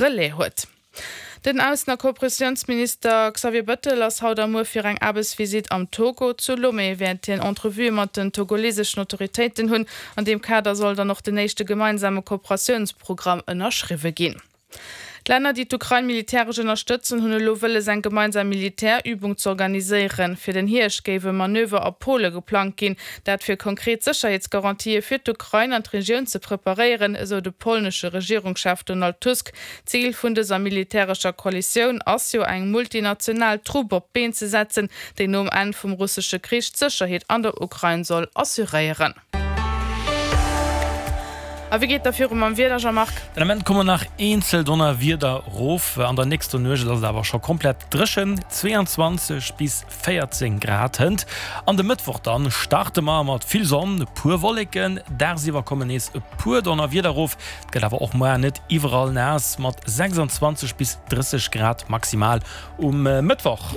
Relais huet. Den Aussen a Kooperatiounsminister Xavier Bëttel ass haut a muer fir eng Aarbechtsvisitt am Togo. Zu Lomé wäert hien Entrevuë mat den togoleseschen Autoritéiten hunn. An deem Kader soll dann och den éischte gemeinsame Kooperatiounsprogramm ënnerschriwwe ginn. D'Länner, déi d'Ukrain militäresch ënnerstëtzen, hunn elo wëlles eng gemeinsam Militärübung z'organiséieren. Fir den Hierscht géif e Manöver a Pole geplangt ginn, dat fir konkret Sécherheetsgarantië fir d'Ukrain an d'Regioun ze preparéieren, esou de polnesche Regierungschef Donald Tusk. Zil vun dëser militärescher Koalitioun ass jo eng multinational Trupp op d'Been ze setzen, déi nom Enn vum russesche Krich d'Sécherheet an der Ukrain soll assuréieren. A wéi geet da viru mam Wieder, Jean-Marc? Den Ament kommen nach eenzel Donnerwieder rof, an der nächster Nuecht ass et awer scho komplett dréchen, 22 bis 14 Grad hënt. An de Mëttwoch dann starte mer mat vill Sonn, e puer Wolleken, dagsiwwer kommen nees e puer Donnerwieder rof, et gëtt awer och muar net iwwerall naass mat 26 bis 30 Grad maximal Um Mëttwoch.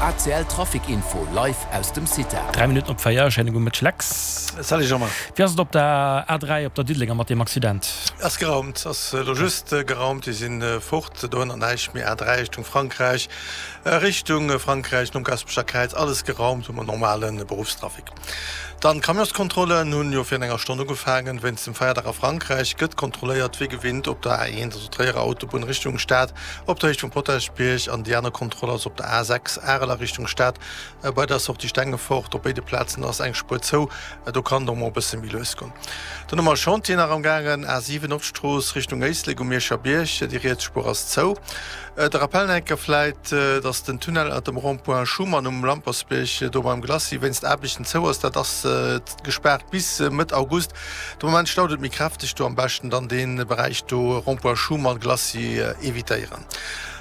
ACL Trafic Info live aus dem CITA. 3 Minutten op 4, schéine gudde Mëtteg Lex. Salut Jean-Marc. Wéi ass et op der A3 op der Diddelenger mat deem Accident? Ass geraumt, ass elo just geraumt, déi si fort, dohënner näischt méi. A3 Richtung Frankräich, Richtung Frankräich nom Gaspecher Kräiz, alles geraumt, hu mer normale Beruffstrafic. Dann d'Camionskontrollen hunn jo virun enger Stonn ugefaangen. Wéinst dem Feierdag a Frankräich gëtt kontrolléiert wéi gewinnt op der A1, also Tréierer Autobunn Richtung Stad, op der Héicht vum Potaschbierg an déi aner Kontroll ass op der A6 Arel a Richtung Stad bei der Sortie Stengefort. Op béide Plazen ass eng Spuer zou, do kann et och mol e bësse méi lues goen. Dann hu mer e Chantier nach am gaangen, A7 Nordstrooss Richtung Éislek um Mierscher Bierg, déi riets Spuer ass zou. De Rappell nach eng Kéier vläit, dass den Tunnel ënnert dem Rond-point Schuman um Lampersbierg do beim Glacis wéinst Aarbechten zou ass. Dat ass gespaart bis Mëtt August. De Moment staut et méi kräfteg do. Am beschten dann dee Beräich do, Rond-point Schuman, Glacis, evitéieren.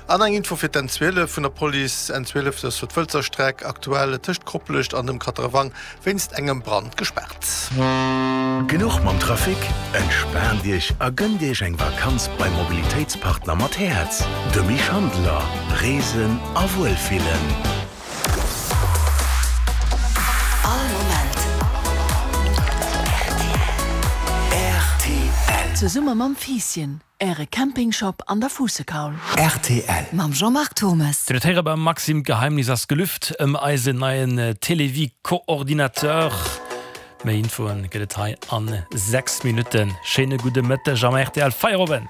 An eng Info fir d'N 12 vun der Police, N 12, dat ass jo d'Wëlzer Streck, aktuell tëscht Koplescht an dem Katrewang Wéinst engem Brand gespaart. Genuch mam Trafic? Entspaant Iech a gënnt Iech eng Vakanz beim Mobilitéitspartner mat Häerz, de Mich Handeler. Reesen a Wuelfillen. All Moment rtl. Zesumme mam Fiisschen. Äre Campingshop an der Fuussekaul. Rtl. Mam Jean-Marc Turmes. Dir huet héiere beim Maxime, d'Geheimnis ass gelüft ëm eisen neien Télévie-Coordinateur. Méi Infoen gëtt et hei an 6 Minutten. Schéine gudde Mëtteg am rtl Feierowend.